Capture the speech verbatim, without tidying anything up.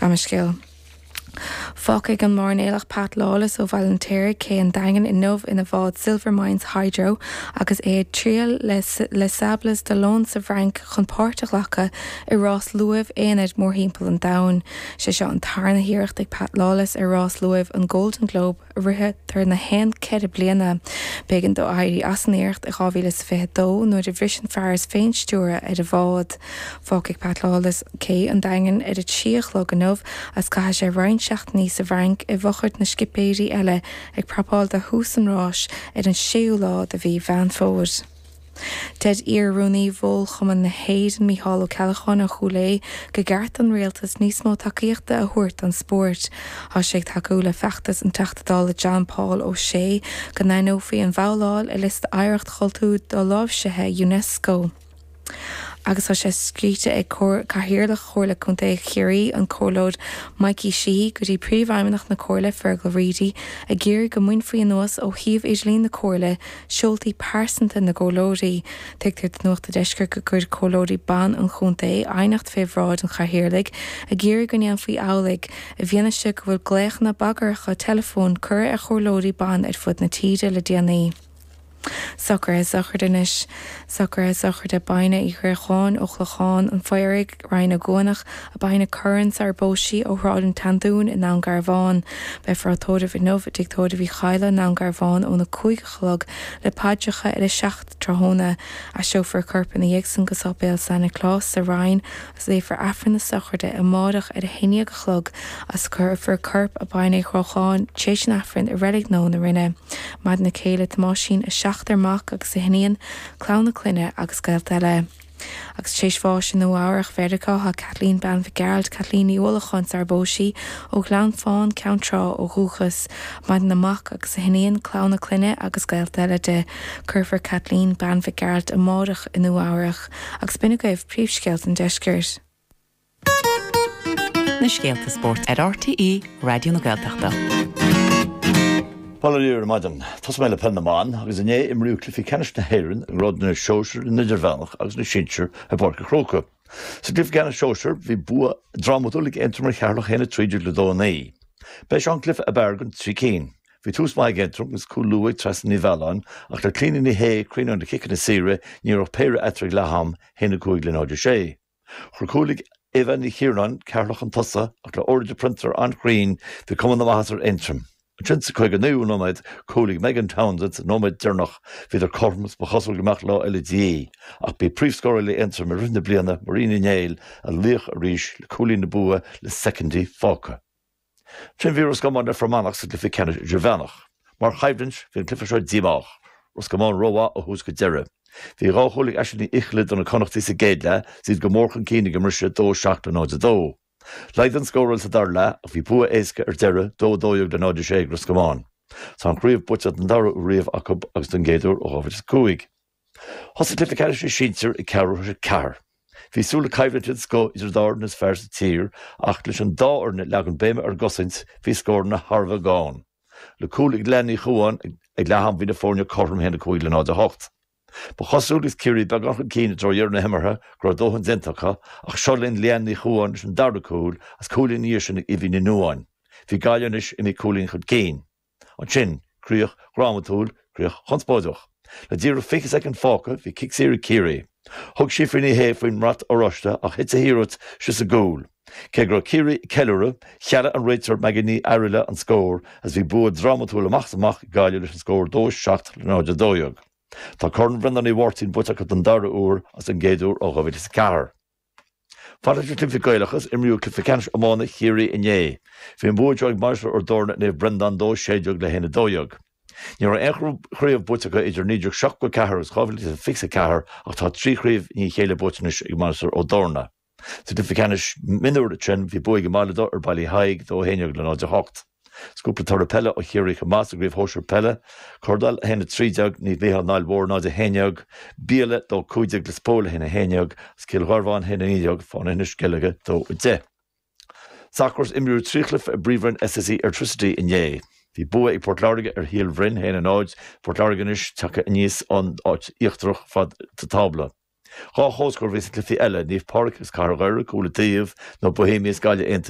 Gabh mo leithscéal. Fágfaidh an mairnéalach Pat Lawless ó Bhaile an tSaoir cé an Daingin inniu ina bhád Silvermines Hydro agus é ag triall le Les Sables d'Olonne sa bhFrainc chun páirt a ghlacadh i rás luaimh aonair mórthimpeall an domhain. Sé seo an tarna hiarracht ag Pat Lawless ar rás luaimh an Golden Globe a rithetar na haon ceithre bliana. B'éigean dó éirí as an iarracht i dhá mhíle is fiche dó nuair a bhris an fearas féinstiúrtha ar a bhád. Fágfaidh Pat Lawless cé an Daingin ar a trí a chlog inniu agus caithfidh sé roinnt seachtainí sa bhFrainc i bhfochair na scipéirí eile ag prapáil do thús an ráis ar an séú lá de mhí Mheán Fómhair. Deir iar-rúnaí Bhord Chumann na hÉireann Mícheál Ó Ceallacháin ó Chúil Aodha gur cheart don rialtas níos mó tacaíochta a thabhairt don spórt. Tá sé ag tacú le feachtas an Teachta Dála John Paul O'Shea go n-aithneofaí an bhabhláil ar liosta oidhreacht chultúir doláimhsithe UNESCO. Agus tá sé scríte ag Cathaoirleach Chomhairle Contae Chiarraí an Comhairleoir Mikey Sheehy go dtí príomhfheidhmeannach na Comhairle Fergal Reidy ag iarraidh go mbainfí anuas ó shuíomh idirlín na Comhairle seoltaí pearsanta na gcomhairleoirí. Tuigtear do Nuacht an Deiscirt gur chuir comhairleoirí ban an chontae aighneacht fé bhráid an chathaoirligh ag iarraidh go ndéanfaí amhlaidh i bhfianaise go bhfuil glaochanna bagartha teileafóin curtha ar chomhairleoirí ban ar fud na tíre le déanaí. Socruithe sochraide anois socruithe sochraide Baine Uí Ghréacháin ó Chlochán an Phaoraigh Rinn Ó gCuanach a Baine Curran sar bpóisí ó Shráid an tSeandúin i nDún Garbhán. Beifear á tórramh inniu i dTigh Tórraimh Uí Chadhla i nDún Garbhán óna cúig a chlog le paidreacha ar a seacht tráthnóna. Aistreofar a corp ina dhiaidh sin go Séipéal San Nioclás sa Rinn agus léifear Aifreann na sochraide amárach ar a haon déag a chlog agus cuirfear corp a Baine Uí Ghréacháin tar éis an Aifrinn i Reilig Nua na Rinne. Maireann a céile Tomáisín a seachtar mac agus a hiníon, clann a clainne agus gaolta eile. Agus tar éis bháis i Nua-Eabhrac Mheiriceá tá Kathleen bean Mhic Gearailt Kathleen Ní Uallacháin sar bpóisí ó Ghleann Fáin Ceann Trá ó dhúchas, Maireann a mac agus a hiníon, clann a clainne agus gaolta eile di. Cuirfear Kathleen bean Mhic Gearailt amárach i Nua-Eabhrac agus b'in agaibh príomhscéalta an deiscirt. Na scéalta spóirt ar RTÉ Raidió na Gaeltachta. Bail ó Dhia ar maidin, Tosóidh mé le peil na mban agus inné imríodh cluichí ceannais na hÉireann i ngrád na sóisear na n-idirmheánach agus na sinsear i bPáirc an Chrócaigh. Sa gcluiche ceannais sóisear bhí bua drámatúil ag Aontroim ar Cheatharlach a haon a trí déag le dó a naoi. B'é seo an cluiche ab fhearr den trí cinn. Bhí tús maith ag Aontroim agus cúl luath ag Trasna Ní Mhealláin ach le Clíona Ní Shé cruinn na ciceanna saora ní raibh péire eatarthu ag leath-am a haon a cúig le náid a sé. Chuir cúl ag Eva Ní Chiaráin Ceatharlach chun tosaigh ach le Orla de Printer an-chruinn bhí cuma na maitheasa ar Aontroim. Ansin sa caoga naoú nóiméad cúl ag Megan Townsend sa nóiméad deireanach bhíodar cothrom agus ba chosúil go mbeadh lá eile de dhíth. Ach b'í príomhscórálaí Aontroim i rith na bliana Marie Ní Néill a laoch arís le cúilín na bua le soicindí fágtha. Ansin bhí Ros Comáin le Fear Manach sa gcluiche ceannais idirmheánach. Mar choimhlint bhí an cluiche seo díomách. Ros Comáin rómhaith ó thús go deireadh. Bhí dhá chúl ag Aisling Ní Fhichille do na Connachtaigh sa gcéad leath, is iad go mór chun cinn ag an mbriseadh dó seacht le náid a dó. Laghdaigh an scóráil sa dara leath ach bhí bua éasca ar deireadh dó dó dhéag le náid a sé ag Ros Comáin. Tá an chraobh buaite den dara huair riamh acu agus den gcéad uair ó dhá mhíle is a cúig. Thosaigh cluiche ceannais na sinsear ag ceathrú tar éis a ceathair. Bhí súil le coimhlint den scoth idir an dá fhoireann is fearr sa tír ach leis an dá fhoireann ag leagan béime ar an gcosaint bhí scóranna thar a bheith gann. Le cúl ag Leanne Ní Chuáin ag leath-am bhí na foirne cothrom a haon a cúig le náid a hocht. Ba chosúil agus Ciarraí beagán chun cinn i dtreo dheireadh na himeartha go raibh dóthain déanta acu ach seo linn Leanne Ní Chuáin leis an dara cúl agus cúilín ina dhiaidh sin ag Ivy Ní Nuáin. Bhí Gaillimh anois imithe cúilín chun cinn. Ansin, críoch dhrámatúil, críoch chonspóideach. Le díreach fiche soicind fágtha bhí cic saor ag Ciarraí. Thug Síofra Ní Shé faoin mbrat oráiste ach thit a hiarracht síos i gcúl. Cé go raibh Ciarraí ag ceiliúradh, chealaigh an réiteoir Maggie Ní Fhearghaile an scór agus bhí bua drámatúil amach is amach ag Gaillimh leis an scór dó seacht le náid a dó dhéag. Tá Corn Bhreandáin Uí Mháirtín buaite acu den dara huair agus den gcéad uair ó dhá mhíle is a ceathair. Fad leis na cluichí Gaelacha, imríodh cluiche ceannais iomána Chiarraí inné. Bhí an bua seo ag Mainistir Ard Torna Naomh Breandán dó sé déag le haon a dó dhéag. Ní raibh aon chraobh buaite acu idir naoi déag seachtó a ceathair agus dhá mhíle is fiche a ceathair ach tá trí chraobh i ndiaidh a chéile buaite anois ag Mainistir Ó dTorna. Sa gcluiche ceannais mionúir ansin bhí bua ag an mBaile Dubh ar Baile Uí Thaidhg dó a haon déag le náid a hocht. Is cúpla toradh peile ó Chiarraí chomh maith sa gcraobh shóisir peile, Cordal a haon a trí déag, Naomh Mícheál an Aill Mhóir náid a haon déag, Biaille dó cúig déag Lios Póil a haon a haon déag agus Cill Gharbháin a haon a naoi déag, Fánaithe Inis Sceilge dó a deich. Sacar Imríodh trí chluiche i bPríomhroinn SSE Airtricity inné. Bhí bua ag Port Láirge ar Shíol Bhroin a haon a náid, Port Láirge anois tagtha aníos ón áit íochtarach fad sa tábla. Dhá chomhscór a bhí sna cluichí eile, Naomh Pádraig agus Cathair Dhoire, cúl an taobh, nó Bohemians Gaillimh Aontaithe.